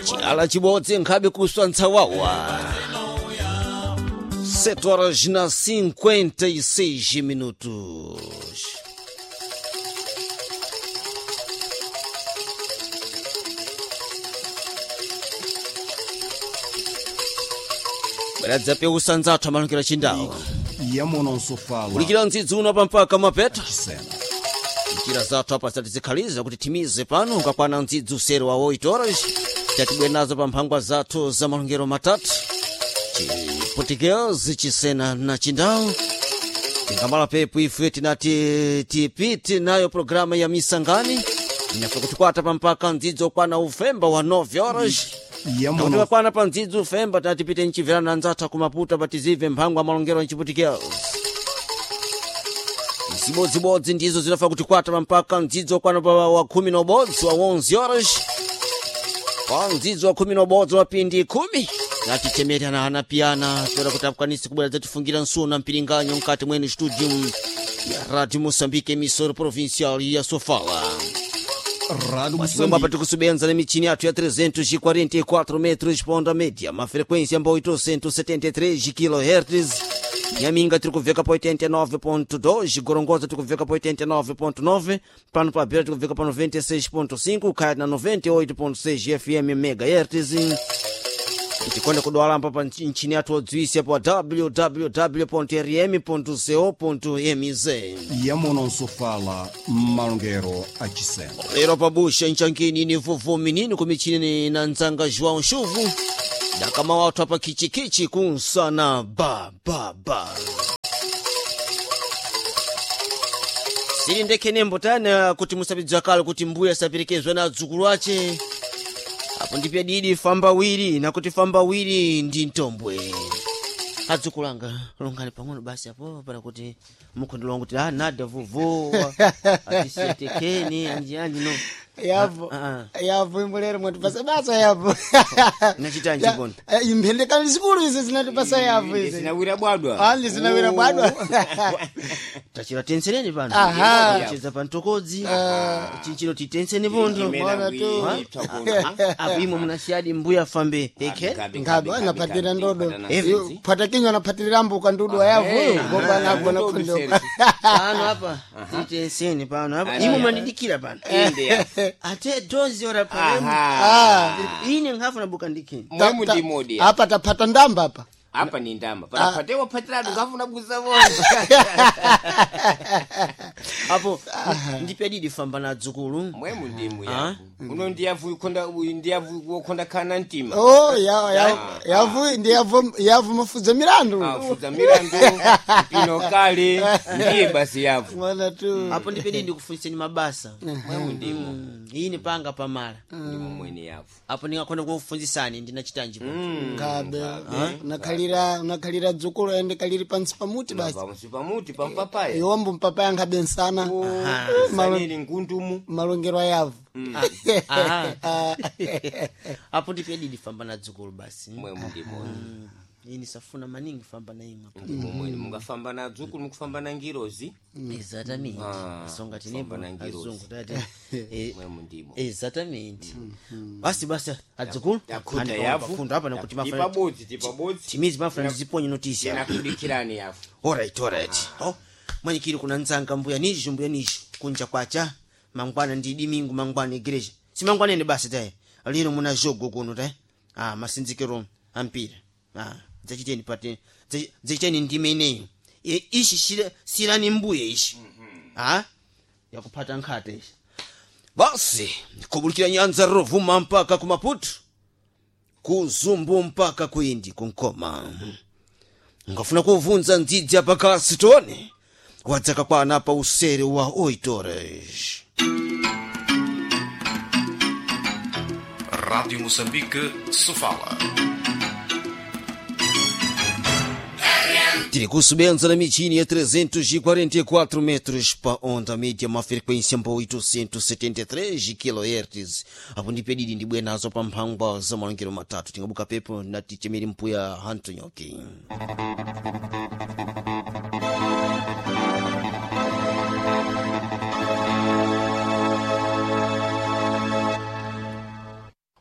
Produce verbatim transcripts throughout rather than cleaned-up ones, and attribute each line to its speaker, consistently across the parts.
Speaker 1: Chala chibodzi nkhabe kuswa ntsawawa. sete horas na cinquenta e seis minutos. Bweradza peusa nzathu amalukira chindawo.
Speaker 2: Yamononsofala
Speaker 1: Kulikira ndzidzi uno pampaka mapeto.
Speaker 2: Chisena.
Speaker 1: Njira zathu apa zatizikhaliza kuti timize pano ukakwana ndzidzi usere wa oito horas tatibwe nazo pa mphangwa zathu za malongero matatu Chiportuguese, Chisena na Chindau. Tingamala pepo ife tinati tipite nayo programa ya misangani inafe kutikwata pampaka ndzidzi okwana ufemba wa nove horas nakuti
Speaker 2: Yamono
Speaker 1: vakwana pa ndzidzi ufemba tinatipite nchimverana nzathu kumaputa patizive mphangwa malongero nchiputikezi zibodzibodzi ndizo zinafa kuti kwata mpaka mdzidzo wakwana pa wa khumi na ubodzi wa onze horas pa mdzidzo wa khumi na ubodzi wa pindi khumi natitemerana anapiyana toera kuti akwanise kubwera dzatifungira nsuna mpiringanyo mkati mwene studio ya Radio Moçambique emissora provincial ya Sofala.
Speaker 2: Rádio
Speaker 1: Mwamba
Speaker 2: Moçambique
Speaker 1: patikusubenza na michini yathu ya trezentos e quarenta e quatro metros pa onda média, uma frequência mba oitocentos e setenta e três kilohertz. Nhaminga tiri kuveka pa oitenta e nove ponto dois, Gorongosa tiri kuveka pa oitenta e nove ponto nove, pano pa Beira tiri kuveka pa noventa e seis ponto cinco, Caia na noventa e oito ponto seis F M megahertz. Tikonde kudwalamba pa nchini yathu odziwisa pa w w w ponto r m ponto co ponto m z.
Speaker 2: Yamononsofala malongero a Chisena.
Speaker 1: Lero pabusha nchankini ni vuvu minini kumichini na nzanga João Chuvu dakama watu apa kichikichi kunsana ba ba ba sili ndekhe nembo tana kuti musapidza kale kuti mbuya saperekezwa na adzukulu ache apo ndipya didi famba wiri nakuti famba wiri ndi mtombwe. Adzukulu anga longani pang'ono basi apo para kuti mukhondolonga kuti ah nada vuvu atisiyetekeni anji anji no.
Speaker 3: Yapo.
Speaker 1: Ah,
Speaker 3: Yapo imbolero mwatipasa basa yapo.
Speaker 1: Nachitanji
Speaker 3: Ya-
Speaker 1: kono?
Speaker 3: eh, Imphendekano zikulu izi zinatipasa yapo izi.
Speaker 4: Zinawira bwadwa.
Speaker 3: Ali zinawira bwadwa.
Speaker 1: Tachira tensereni pano.
Speaker 3: Aha.
Speaker 1: Cheza pa mtokodzi chinchino titenseni pontho.
Speaker 3: Mbona tu.
Speaker 1: Apo imwe munasiyadi mbuya fambe eke.
Speaker 3: Ngabe anapatira ndodo.
Speaker 1: Evi.
Speaker 3: Yo, Phata kinywa anapatirira mbuka ndudu yavu. Ngoba nagona
Speaker 4: Ndodo
Speaker 3: kondo.
Speaker 4: seri.
Speaker 1: Pano apa titenseni pano apa imwe mandidikira pano ate dozi ora pano.
Speaker 3: Ah.
Speaker 1: Ine nkhafu nabuka ndikini.
Speaker 4: Mwemu ndi modi.
Speaker 3: Apa tapata ndamba apa.
Speaker 4: Apa ni ndamba. Panapatewa patiratu ngafuna kuza bonza.
Speaker 1: Apo ndipya didi famba na adzukulu.
Speaker 4: Mwemu ndimu yavu. Uno ndiyavu ikonda uyu ndiyavu wokonda kana ntima.
Speaker 3: Oh, ya ya yavu ndi yavu yavu mafuza milandu.
Speaker 4: Afuza milandu pino kale ndiye basi yavu.
Speaker 3: Mwana tu.
Speaker 1: Apo ndipya didi ndikufuniseni mabasa.
Speaker 4: Mwemu ndimu.
Speaker 1: Mm, ine panga pamala.
Speaker 4: Ndimu mwene yavu.
Speaker 1: Apo ndingakhona kukufunzisani ndinachitanji po.
Speaker 3: Ngabe unakhalira unakhalira dzukulu ende kaliri pansi pamuti basi.
Speaker 4: Pamusi pamuti pampapaya.
Speaker 3: Iwombo mpapaya nkhabe nsana. Malo-
Speaker 4: Sanili ngundumu.
Speaker 3: malongero ayavu.
Speaker 1: Aha. Apo ndipya didi famba na dzukulu basi.
Speaker 4: Mwemu ndimu.
Speaker 1: Mm, ini safuna maningi famba na imwe.
Speaker 4: Ndimo mwene mungafamba na dzukulu mukufamba na ngirozi.
Speaker 1: Exatamente.
Speaker 4: Ah,
Speaker 1: Songa tinepo
Speaker 4: famba na ngirozi.
Speaker 1: azungu tati. Eh,
Speaker 4: Mwemu ndimo.
Speaker 1: Exatamente. Basi basi adzukulu.
Speaker 4: Takuta yavu.
Speaker 1: Funda apa nakuti mafana.
Speaker 4: Tipabodzi tipabodzi.
Speaker 1: Timizi mafana ndiziponye notice.
Speaker 4: Tinakudikirani yavu.
Speaker 1: Alright, alright. Oh, mwanyikiri kuna nzanga mbuya nizho mbuya nizho kunja kwacha mangwana ndi dimingu mangwana igreja simangwana ene basi taye lero muna jogo kuno taye ah masinzikiro ampira ah dzachiteni pate dza- dzachiteni ndime ineyo E, ishi shira- sirani mbuye ishi ah yakupata nkhate ishi basi kubulikira nyanza rovuma mpaka kumaputu kuzumbu mpaka kuindi kunkoma ngafuna kuvunza ndzidzi apakasi tone wadzaka kwana pa usere wa oito horas.
Speaker 5: Rádio Moçambique, Sofala.
Speaker 1: Tiri kusubenza na michini ya trezentos e quarenta e quatro metros pa onda média, uma frequência mba oitocentos e setenta e três kilohertz. Apo ndipedidi ndibwe nazo pa mphangwa za malongero matatu tingabuka pepo nati chemeri mpuya hantonyoki.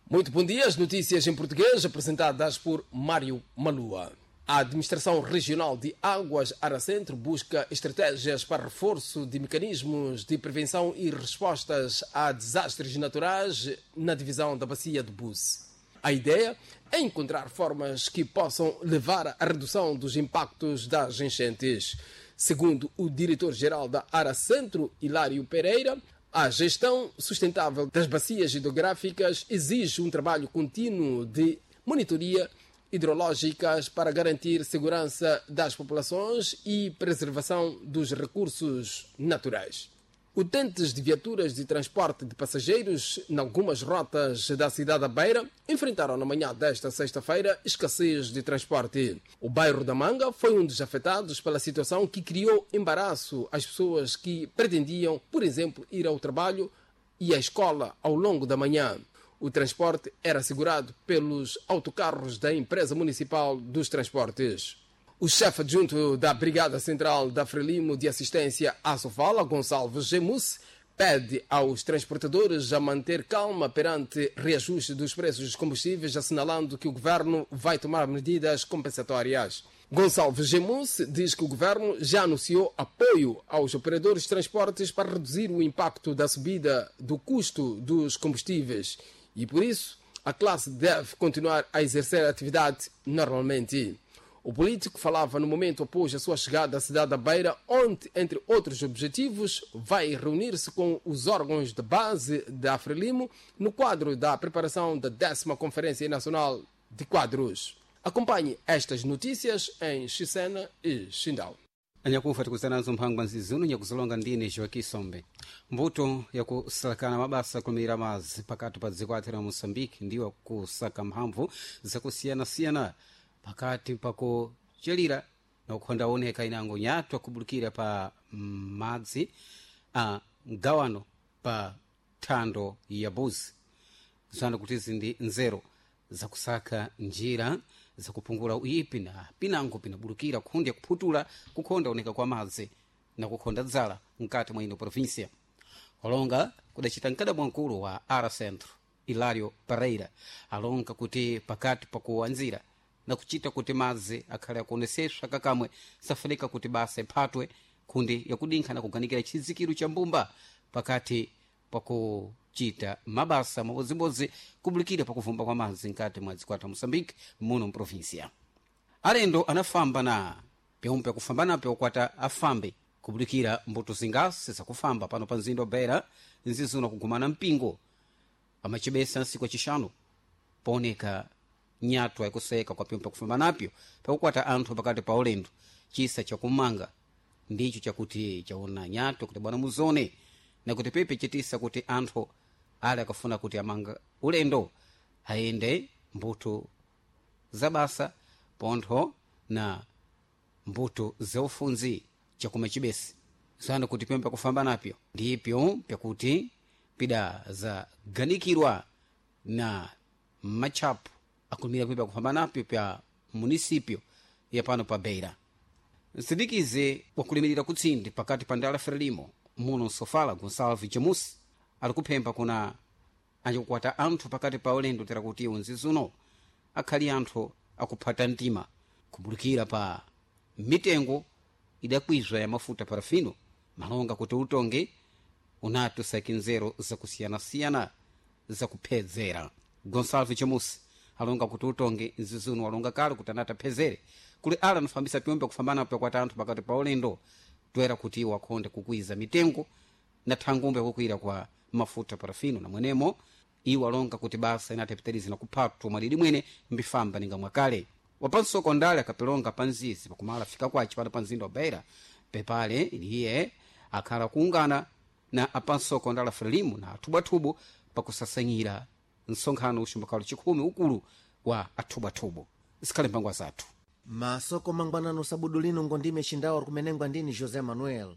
Speaker 6: Muito bom dia. As notícias em português apresentadas por Mário Malua. A Administração Regional de Águas Aracentro busca estratégias para reforço de mecanismos de prevenção e respostas a desastres naturais na divisão da Bacia do Búzi. A ideia é encontrar formas que possam levar à redução dos impactos das enchentes. Segundo o diretor-geral da Aracentro, Hilário Pereira, a gestão sustentável das bacias hidrográficas exige um trabalho contínuo de monitoria hidrológicas para garantir segurança das populações e preservação dos recursos naturais. Utentes de viaturas de transporte de passageiros em algumas rotas da cidade da Beira enfrentaram na manhã desta sexta-feira escassez de transporte. O bairro da Manga foi um dos afetados pela situação que criou embaraço às pessoas que pretendiam, por exemplo, ir ao trabalho e à escola ao longo da manhã. O transporte era assegurado pelos autocarros da Empresa Municipal dos Transportes. O chefe adjunto da Brigada Central da Frelimo de Assistência à Sofala, Gonçalves Gemus, pede aos transportadores a manter calma perante reajuste dos preços dos combustíveis, assinalando que o governo vai tomar medidas compensatórias. Gonçalves Gemus diz que o governo já anunciou apoio aos operadores de transportes para reduzir o impacto da subida do custo dos combustíveis e, por isso, a classe deve continuar a exercer a atividade normalmente. O político falava no momento após a sua chegada à cidade da Beira, onde, entre outros objetivos, vai reunir-se com os órgãos de base da Frelimo no quadro da preparação da décima Conferência Nacional de Quadros. Acompanhe estas notícias em Chisena e Xindau.
Speaker 7: Anyakufa tikuzananso mphangwa nzizuno nyakuzilonga ndine Joaquim Sombe. Mbuto yakusalakana mabasa kulumira madzi pakati pa dziko athu la Moçambique ndiwo kusaka mphamvu zakusiyanasiyana pakati pakuchelira na kukhonda oneka inango nyatwa kubulukira pa madzi a mgawano pa thando ya buzi zana kuti izi ndi nzeru zakusaka njira zakupungula uyipi na pinango pinabulukira khundi yakuphutula kukhonda oneka kwa madzi na kukhonda dzala mkati mwa ino província. Olonga kudacita mkadabwa mkulu wa Ara Centro Hilário Pereira alonga kuti pakati pakuwanzira na kuchita kuti madzi akhale akuoneseswa kakamwe safunika kuti basa iphatwe khundi yakudinkha na kuganikira chizikiro cha mbumba pakati pakuchita mabasa mabodzibodzi kubulikira pakuvumba kwa madzi mkati mwa dziko la Moçambique muno mprovinsia. Alendo anafamba na pyomwe akufamba napyo kwata afambe kubulikira mbuto zingasi zakufamba pano pa mzinda wa Beira nzizuna kugumana mpingo amachibesa nsiku acixanu pooneka nyatwa yakuseka kwa pyomwe pakufamba napyo pakukwata anthu pakati pa ulendo. Chisa chakumanga ndicho chakuti chaona nyatwa kuti bwana muzone na kuti pepe chitisa kuti anthu ale akafuna kuti amanga ulendo ayende mbuto za basa pontho na mbuto zaufunzi chakuma chibesi zana kuti pyomwe pakufamba napyo ndipyo pyakuti pida zaganikirwa na matchapu akulumira pyomwe pakufamba napyo pya munisipyo ya pano pa Beira. Msindikize wakulimirira kutsindi pakati pa ndala Frelimo muno Nsofala Gonçalves Jamus ali kuphemba kuna anjakukwata anthu pakati pa ulendo tera kuti unzizuno akhali anthu akuphata mtima kubulikira pa mitengo idakwizwa ya mafuta parafino malonga kuti utonge unati usaki nzeru zakusiyanasiyana zakuphedzera. Gonçalves Jamus alonga kuti utonge nzizuno alonga kale kuti anati aphezere kuli ala anafambisa pyombe kufambana pakwata anthu pakati pa ulendo toera kuti iwo akhonde kukwiza mitengo na thangumbe kukwira kwa mafuta parafino na mwenemo iwo alonga kuti basa inati apitirize na kuphatwa mwadidi mwene mbifamba ninga mwakale. Wapansoko ndale akapilonga pa nzizi pakumala fika kwace pano pa mzinda wa Beira pepale iye akhala kuungana na apansoko ndala Frelimo na athubwathubu pakusasanyira msonkhano uxumbakalo chikhumi ukulu wa athubwathubu. Zikhale mphangwa zathu
Speaker 8: Masoko mangwanano sabudu lino ngondime xindawo kumenengwa ndini José Manuel.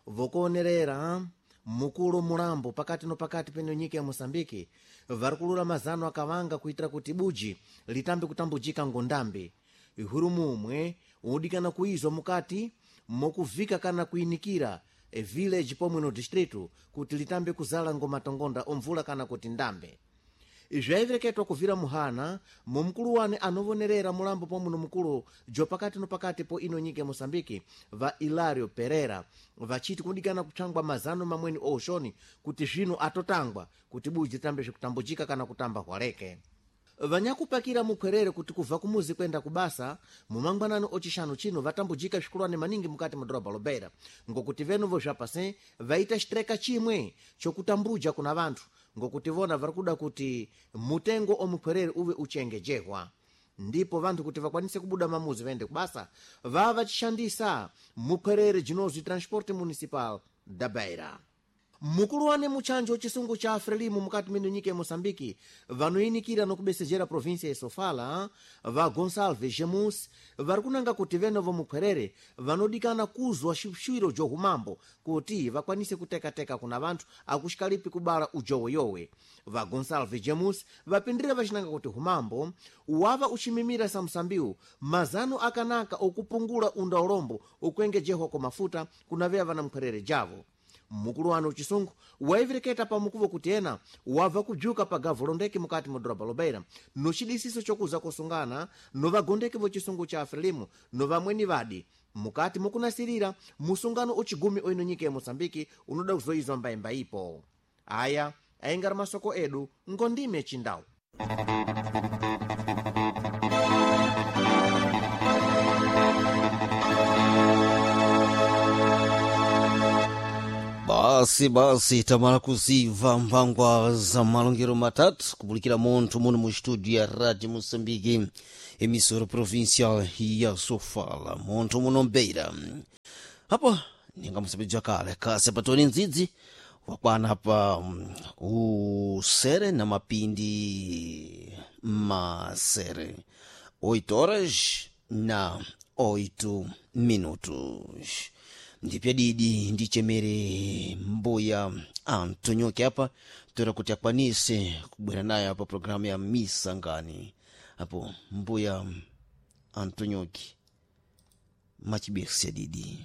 Speaker 8: Vokuonerera mukulu mulambo pakati no pakati peno nyika ya Moçambique vari kulula mazano akawanga kuitira kuti buji litambe kutambujika ngondambe. Ihuru mumwe udikana kuizwa mukati mokuvika kana kuinikira e village pomwe no distrito kuti litambe kuzala ngomatongonda omvula kana kuti ndambe. Zvayivereketwa kuvira muhana mumkulu wane anovonerera mulambo pomwe nomukulu jopakati nopakati po ino nyika ya Moçambique va Hilario Pereira vachiti kudikana kupsangwa mazano mamweni ouxoni kuti zvino atotangwa kuti buji tambe zvekutambujika kana kutamba hwaleke. Vanyakupakira mukhwerere kuti kubva kumuzi kwenda kubasa mumangwanani ocixanu chino vatambujika svikulwane maningi mukati mu dhorobha lobeira, ngokuti venuvo zvapase vaita xitreka chimwe chokutambuja kuna vanthu, ngokuti vona vari kuda kuti mutengo omukhwerere uve uchengejehwa, ndipo vanthu kuti vakwanise kubuda mamuzi vaende kubasa vava vachishandisa mukhwerere jinozwi Transporte Municipal da Beira. Mukulu wane muchanjo chisungu cha Frelimo mukati mino nyika ya Moçambique vanoyinikira nokubesejera província ya Sofala va Gonçalves Gemus vari kunanga kuti venovo mukhwerere vanodikana kuzwa xwiro johumambo kuti vakwanise kutekateka kuna vanthu akuxikalipi kubala ujoweyowe. Va Gonçalves Gemus vapindira vacinanga kuti humambo wava uchimimira samsambiwu mazano akanaka okupungula undaulombo ukuengejehwa kwa mafuta kuna veya vana mkhwerere javo. Mukulu wanu uchisungu waivereketa pamukuvo kuti ena wabva kubzuka pa gavu londeke mukati mu dhorobha lobeira nocidisiso chokuza kusungana novagondeki vochisungu cha Frelimo novamweni vadi mukati mukunasirira musungano uchigumi oino nyika ya Moçambique unoda kuzoizwa mbaimba ipo. Aya aingari masoko edu ngondime chindau.
Speaker 1: Basi basi tamala kuziva mphangwa za malongero matatu kubulikira munthu muno mu studio ya Radio Moçambique, emissora provincial ya Sofala, munthu muno Beira. Apo ninga musabidza kale kasi patoni ndzidzi wakwana pa mm, usere na mapindi masere oito horas na oito minutos. Ndipya didi ndichemere mbuya Antonioke apa tora kuti akwanise kubwera naye apa programu ya Misangani. Apo mbuya Antonioke machibesa didi.